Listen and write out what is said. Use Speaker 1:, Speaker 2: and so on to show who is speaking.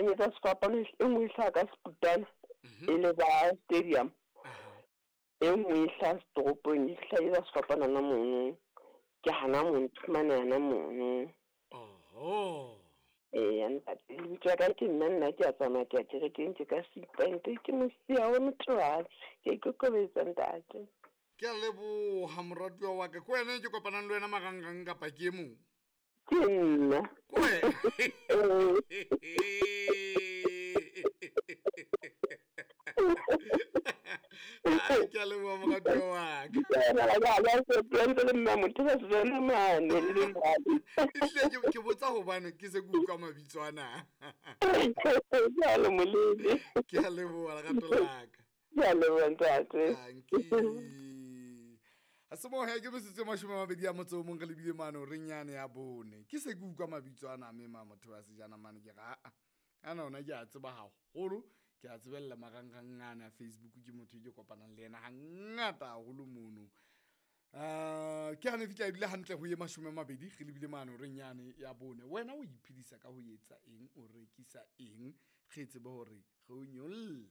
Speaker 1: hlanyetsa sefapano e nngwe e hlaha ka Seputana e le ba stadium. E nngwe e hlaha setoropong e hlanyetsa sefapano hona mono. Ke hana mono, ke fumane hana mono.
Speaker 2: Oho.
Speaker 1: Eya ntate, lebitso la ka ke nna nna ke a tsamaya ke ya kerekeng ke ka seipante ke mosia wa motho ke a ikokobetsa ntate.
Speaker 2: Ke a leboha moratuwa wa ka. Ke wena e ke kopanang le wena marangrang kapa ke e mong?
Speaker 1: Ke nna.
Speaker 2: Ke wena? Ai, ke a leboha moratuwa wa ka.
Speaker 1: Ntse le mma motho ba sejana mane le mane.
Speaker 2: Ehlile ke botsa hobane ke se ke utlwa mabitso ana.
Speaker 1: Ke a le molele.
Speaker 2: Ke a leboha lerato la ka.
Speaker 1: Ke a leboha ntate.
Speaker 2: Dankie. A se mohe ke metsotso e 28 re lebile mane horeng yane ya 4. Ke se ke utlwa mabitso ana mme ma motho wa sejana mane ke re aa. Ana ona ke a tseba haholo, ke a tsebella marangrang ana a Facebook ke motho e ke kopanang le yena hangata haholo mono. Ke hane fihla ebile hantle ho ye 20 re lebile mane horeng yane ya 4. Wena o iphedisa ka ho etsa eng, o rekisa eng? Re tsebe hore re o nyolle.